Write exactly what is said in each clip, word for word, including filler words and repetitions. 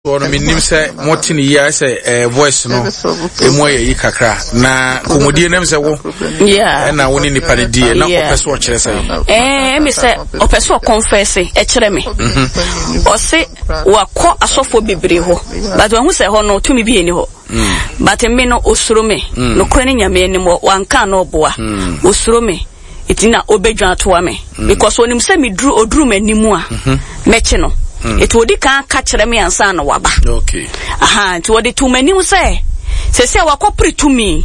No menim sɛ mote ne yie ayɛ sɛ eh, voice no ɛmu ayɛ yi kakra na kɔmmɔdie nam sɛ wo ɛna wo ne nipa no die na ɔpɛ sɛ ɔkyerɛ sɛ ɛmi sɛ ɔpɛ sɛ ɔkɔnfɛse ɛkyerɛ me. mhm. Ɔse wakɔ asɔfoɔ bebree hɔ, but wahu sɛ hɔ no tumi bi ɛni hɔ mm. But me no, osuro me mm. Nokorɛ ne Nyame anim, wanka na ɔboa mm. Osuro me nti na obɛdwa atoa me mm. because onim sɛ meduru oduru m'anim a mhm. mɛkye no mm. Nti odi kan ka kyerɛ me ansa na waba. Okay. Aha, nti wɔde to m'anim sɛ sɛsɛ wakɔpere tumi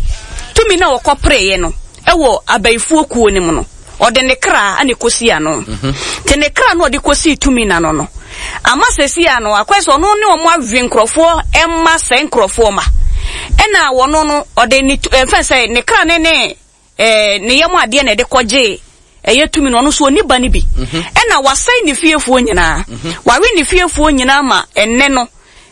tumi na wɔkɔpereeɛ no ɛwɔ abayifoɔ kuo no mu no, ɔde ne kra ana ɛkɔsi ano mhm. Nti ne kra no ɔde kɔsii tumi n'ano no ama sɛsi ano akɔyɛ sɛ ɔno ne ɔmo awe nkurɔfoɔ ɛma sɛ nkurɔfoɔ ma ɛna wɔno no ɔde ne ɛmfɛn sɛ ne kra ne ne ɛɛ ne yam adeɛ na ɛde kɔgye ɛyɛ tumi no. Ɔno nso ɔni ba no bi mhm. Ɛna wasɛe ne fiefoɔ nyinaa mhm. Wawe ne fiefoɔ nyinaa ma ɛnɛ no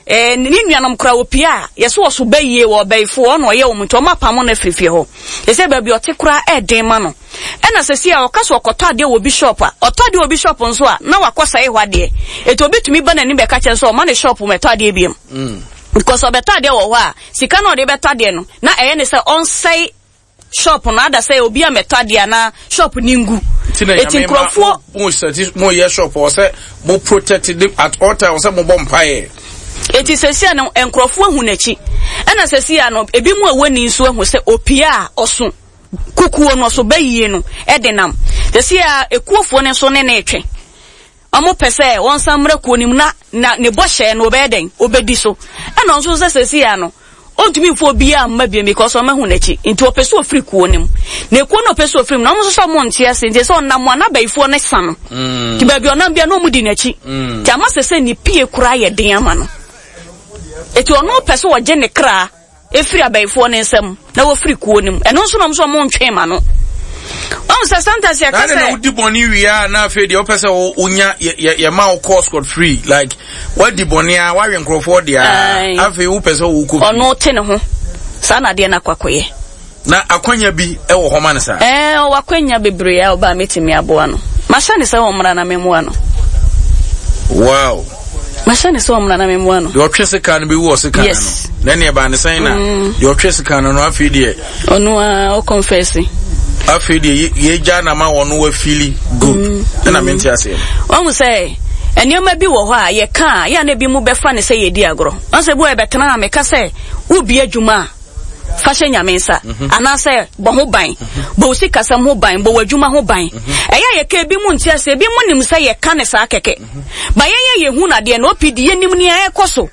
ɛɛ ne nuanom kora opia a yɛsɛ ɔso bɛyie wɔ ɔbɛyifoɔ ɔna ɔyɛ wɔn, nti wɔn apam no afiri fie hɔ. Yɛsɛ baabi ɔte koraa ɛɛden ma no. Ɛna sɛsi a ɔka so ɔkɔtɔ adeɛ wɔ obi shop a, ɔtɔ adeɛ wɔ obi shop nso a, na wakɔ sɛe hɔ adeɛ. Etu obi tumi ba n'anim bɛka kyɛn sɛ ɔma ne shop mɛtɔ adeɛ biem mm. because ɔbɛtɔ adeɛ wɔ hɔ a, sika na ɔde bɛtɔ adeɛ no na ɛyɛ ne sɛ ɔnsɛe shop no ada sɛ obi a mɛtɔ adeɛ anaa shop ni ngu. Eti nkurɔfoɔ mo sɛ mo yɛ shop wɔ sɛ mo protect at all times, sɛ mo bɔ mpaeɛ. Eti sɛsi no nkurɔfoɔ ahu n'akyi. Ɛna sɛsi no ebi mu a ɛwɔ ni nso ahu sɛ opia a ɔso kukuo no ɔso bɛyie no ɛde nam. Sɛsi a ekuofoɔ no nso ne ne retwe. Ɔmo pɛ sɛ wɔnsan mmra kuo no mu na na ne bɔhyɛ no ɔbɛyɛ dɛn ɔbɛdi so. Ɛna ɔnso sɛ sɛsi a no ɔntumi nfo obiara mma bio because ɔmo ahu n'akyi, nti ɔpɛ sɛ ofiri kuo no mu. Na ekuo no ɔpɛ sɛ ofiri mu na ɔmo nso sɛ ɔmo nte ase, nti sɛ ɔnam a n'abayifoɔ no sa no mm. Nti baabi ɔnam bia na ɔmo di n'akyi mm. Nti ama sɛ sɛ ne pie koraa yɛ den ama no. Eti ɔno pɛ sɛ ɔgye ne kra efiri abayifoɔ ne nsam na wɔfiri kuo no mu. Ɛno nso na ɔmo nso ɔmo ntwe ma no. Ɔmo sɛ sometimes yɛ kasa. Na wodi bɔnne wie a, na afei deɛ ɔpɛ sɛ wonya yɛ yɛ ma wo kɔ scot free, like wadi bɔnne a wawe nkurɔfoɔ deɛ a, afei wopɛ sɛ wokɔ. Ɔno te ne ho saa na adeɛ no akɔ akɔyɛ. Na akwanya bi wɔ hɔ ma no saa? Ɛɛ, ɔwɔ akwanya bebree a ɔbaa metumi aboa no. Mahyɛ ne sɛ ɔmmra na memmoa no. Wow. Mahyɛ ne sɛ ɔmmra na memmoa no. Deɛ ɔtwe sika no bɛwu ɔsika no. Yes. Na ɛne ɛbaa ne sɛn na mm. deɛ ɔtwe sika no no afei deɛ. Ɔno a ɔkɔnfɛse. Afei deɛ yɛgya na ma wɔn wafili good. Mm. Ɛna mente aseɛ. Wɔn sɛ nneɛma bi wɔ hɔ a yɛka a yɛ a na ebi mu bɛfa ne sɛ yɛdi agorɔ. Wɔn sɛ bi wɔ yɛbɛtena a meka sɛ wobi adwuma a, fa hyɛ Nyame nsa mhm. anaasɛ bɔ ho ban, bɔ wo sikasɛm ho ban, bɔ w'adwuma ho ban. mhm. Ɛyɛ a yɛka, ebi mu nte ase, ebi mu nim sɛ yɛka ne saa kɛkɛ mhm. Ba yɛn yɛ yɛhu nadeɛ na opi di yɛnim nea ɛkɔ so.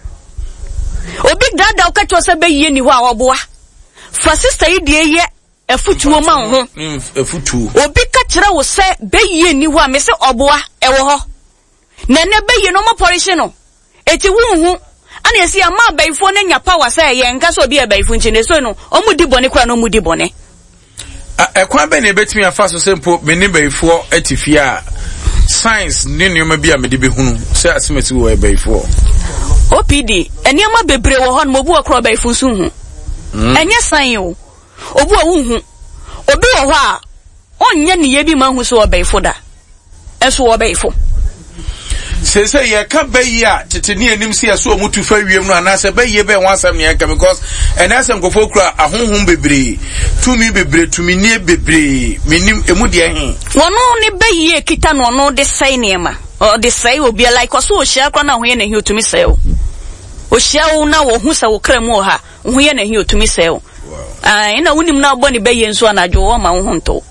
Obi daadaa wo kɛkyɛ sɛ bɛyie ni hɔ a, ɔboa fa sista yi deɛ yɛ afutuo ma wo ho. Obi ka kyerɛ wo sɛ bɛyie ni hɔ a, me sɛ ɔboa, ɛwɔ hɔ. Na ɛnɛ bɛyie no ɔmo pɔrehye no. Eti wonhu ana esi ama abayifoɔ no anya power sɛ yɛn nka sɛ obi yɛ abayifo nti na eso no ɔmo di bɔne koraa na ɔmo di bɔne. Ɛkwan bɛn na ebetumi afa so sɛ mpo me ne bayifoɔ te fie a, science ne nneɛma bi a mede bɛhunu sɛ asemasi wɔ bayifoɔ? O P D, nneɛma bebree wɔ hɔ nom, obi wɔ koraa ɔbayifo nso nhu. Mm. Ɛnyɛ sign o. Obi wɔ wonhu. Obi wɔ hɔ a ɔnyɛ ne yɛ bi ma hu sɛ ɔbayifo da. Ɛnso ɔbayifo. Sese yɛka bɛyi a tete ne anim sɛ yɛsɛ ɔmo tu fa wiem no anaasɛ bɛyie bɛn ho asɛm ne yɛka, because ɛnɛ asɛ nkurɔfoɔ kura ahonhom bebree, tumi bebree, tuminie bebree, menim emu deɛ he. Wɔno ne bɛyie kita no, ɔno de sɛe nneɛma, ɔde sɛe obi, like ɔso ohyia koraa na ho yɛ n'ahi, otumi sɛe o. Ohyia wo na wɔhu sɛ wo kra mu wɔ ha, wo ho yɛ n'ahi, otumi sɛe o. Ɛna wonim na abɔ ne bɛyie nso anadwo wɔma wo ho ntɔ.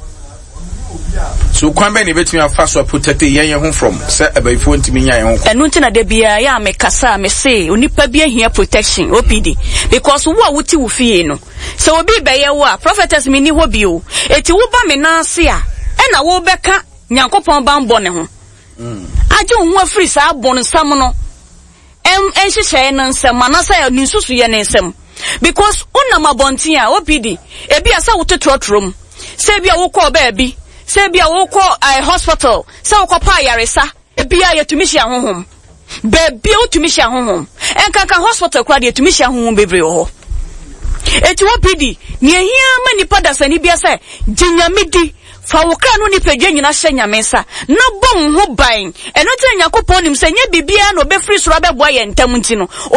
So kwan bɛn na ebetumi afa so aprotect yɛn yɛn ho from sɛ abayifoɔ ntumi nya yɛn ho? Ɛno nti na da biara yɛ a mekasa a mese onipa bi ahia protection, O P D, because wo a wote wo fie no, sɛ obi bɛyɛ wo a, prophetess mi ni hɔ bio, eti woba me nan ase a, ɛna wobɛka Nyankopɔn banbɔ ne ho agye wo ho afiri saa bɔnsam no nhyehyɛe no nsɛm anaasɛ ne nsusuyɛ ne nsɛm, because wonam abɔnten a, O P D, ebi a sɛ wote trɔtrɔ mu, sɛ ebi a wokɔɔ baabi, sɛ ebi a wokɔ uh, hospital, sɛ wokɔpa ayaresa, ebi a yɛtumi hyia honhom baabi a wotumi hyia honhom. Nkanka hospital koraa deɛ, yɛtumi hyia honhom bebree wɔ hɔ. Eti O P D, nea ehia ma nipa dasani bia sɛ gye Nyame di. Fa wo kra ne wo nipadua nyina hyɛ Nyame nsa, na bɔ wo ho ban. Ɛno nti na Nyankopɔn nim sɛ nyɛ biribiara na ɔbɛfiri soro abɛboa yɛn ntɛm nti no,